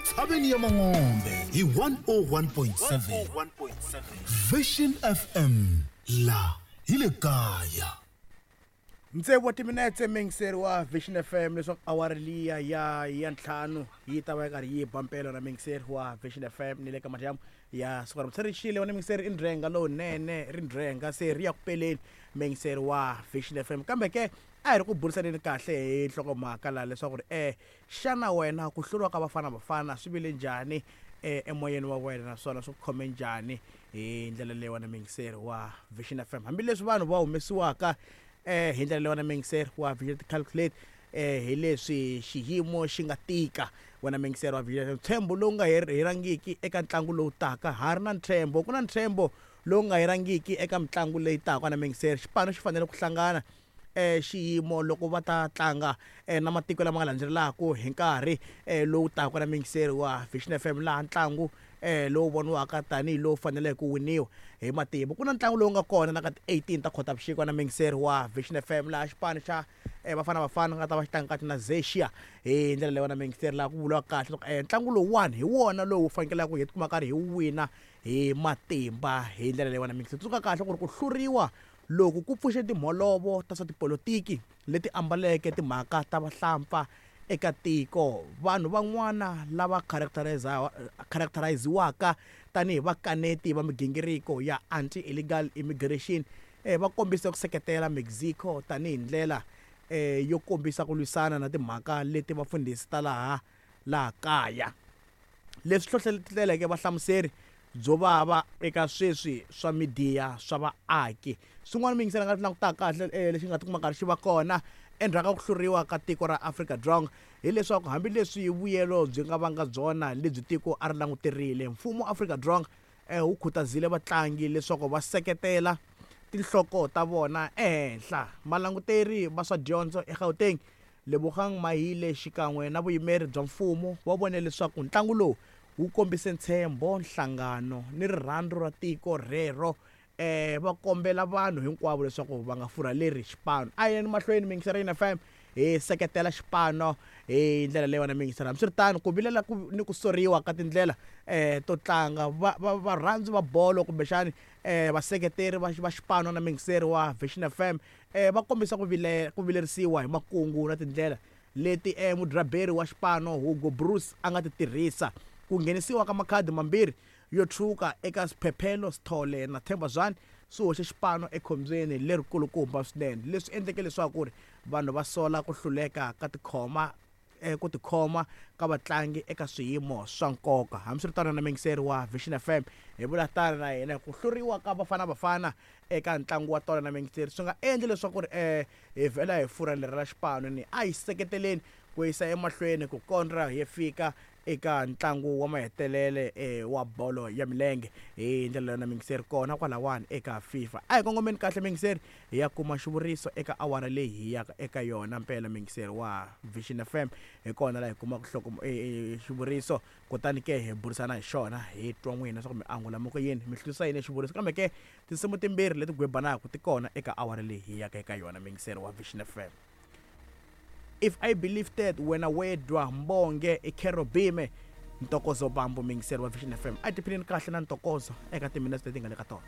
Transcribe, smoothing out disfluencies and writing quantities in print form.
Entshaveni ya Mangombe hi 101.7 Vision FM, la hi le kaya. Tsevu wa timinetse, muyingiseri wa Vision FM, leswaku awara liya ya 5 yi ta va yi karhi yi ba mpelo na muyingiseri wa Vision FM ni le ka madyambu ya siku ra se ri xile wena muyingiseri, i ndzhenga lowunene, ri ndzhenga se ri ya ku peleni, muyingiseri wa Vision FM. Kambe ke a hi ri ku burisaneni kahle hi nhlokomhaka laha leswaku ri xana wena ku hluriwa ka Bafana Bafana swi vile njhani emoyeni wa wena, naswona swi ku khome njhani hi ndlela leyi wena muyingiseri wa Vision FM, hambileswi vanhu va humesiwaka hi ndlela leyi wena muyingiseri wa Vision calculate hi leswi xiyimo xi nga tika wena muyingiseri wa Vision FM. Ntshembo lowu nga herangiki eka ntlangu lowu taka, ha ri na ntshembo, ku na ntshembo lowu nga herangiki eka mitlangu leyi taka na muyingiseri. Xipano xi fanele ku hlangana xiyimo loko va ta tlanga na matiko lama nga landzelelaka hi nkarhi lowu taka na muyingiseri wa Vision FM, laha ntlangu lowu voniwaka tanihi lowu faneleke ku winiwa hi matimba. Ku na ntlangu lowu nga kona na ka ti-18 ta Khotavuxika na muyingiseri wa Vision FM, laha xipano xa Bafana Bafana nga ta va xi tlanga kahle na Zexia hi ndlela leyi wena muyingiseri, laha ku vuriwaka kahle leswaku ntlangu lowuwani hi wona lowu fanekelaka hi tikuma karhi hi wina hi matimba hi ndlela leyi wena muyingiseri. Tsundzuka kahle ku ri ku hluriwa loku ku pfuxe timholovo ta swa tipolotiki leti ambaleke timhaka ta vahlampfa eka tiko. Vanhu van'wana lava characteriziwaka tanihi vakaneti va migingiriko ya anti-illegal immigration va kombise ku seketela Mexico tanihi ndlela yo kombisa ku lwisana na timhaka leti vafundhisi ta laha kaya, leswi hlohloteleke vahlamuseri byo vava eka sweswi swa midiya swa vaaki. Swin'wana muyingiseri nga langutaka kahle lexi nga tikuma karhi xi va kona endzhaku ka ku hluriwa ka tiko ra Afrika-Dzonga hileswaku hambileswi vuyelo byi nga vanga byona lebyi tiko a ri languterile, mfumo wa Afrika-Dzonga wu khutazile vatlangi leswaku va seketela tinhloko ta vona ehenhla. Valanguteri va swa dyondzo eGauteng, Lebogang Mahile, xikan'we na vuyimeri bya mfumo va vone leswaku ntlangu lowu wu kombise ntshembo, nhlangano ni rirhandzu ra tiko rero. Va kombela vanhu hinkwavo leswaku va nga furhaleri xipano. A hi yeni mahlweni muyingiseri wa FM hi seketela xipano hi ndlela leyi wena muyingiseri. Hambiswiritano, ku vilela ku ni ku soriwa ka tindlela to tlanga, varhandzi va bolo kumbexani vaseketeri va xipano na muyingiseri wa Vision FM va kombisa ku ku vilerisiwa hi makungu na tindlela leti mudraberi wa xipano Hugo Broos a nga ti tirhisa. Ku nghenisiwa ka makhadi mambirhi yo tshwuka eka Sphephelo Sithole na Themba Zwane swi hoxe xipano ekhombyeni lerikulukumba swinene, leswi endleke leswaku ri vanhu va sola ku hluleka ka tikhoma ku tikhoma ka vatlangi eka swiyimo swa nkoka. Hambiswiritano, na muyingiseri wa Vision FM hi vula tano na hina, ku hluriwa ka Bafana Bafana eka ntlangu wa tolo na muyingiseri swi nga endli leswaku ri hi vhela hi furhalela xipano ni a hi seketeleni ku yisa emahlweni ku kondza hi fika eka ntlangu wa mahetelele wa bolo ya milenge hi ndlela yona muyingiseri kona kwalawani eka FIFA. A hi kongomeni kahle muyingiseri hi ya kuma xivuriso eka awara leyi hi yaka eka yona mpela muyingiseri wa Vision FM, hi kona laha hi kumaka nhloko xivuriso, kutani ke hi burisana hi xona, hi twa n'wina leswaku mi angula mi ku yini, mi hlurisa yini xivuriso. Kambe ke tinsimu timbirhi leti gwebanaka ti kona eka awara leyi hi yaka eka yona muyingiseri wa Vision FM. If I Believe That, Wena Wedwa, Mbonge, i Kerobime, Ntokozo Bambo, muyingiseri wa Vision FM. A hi tiphineni kahle na ntokozo eka timinetse leti nga le ka tona.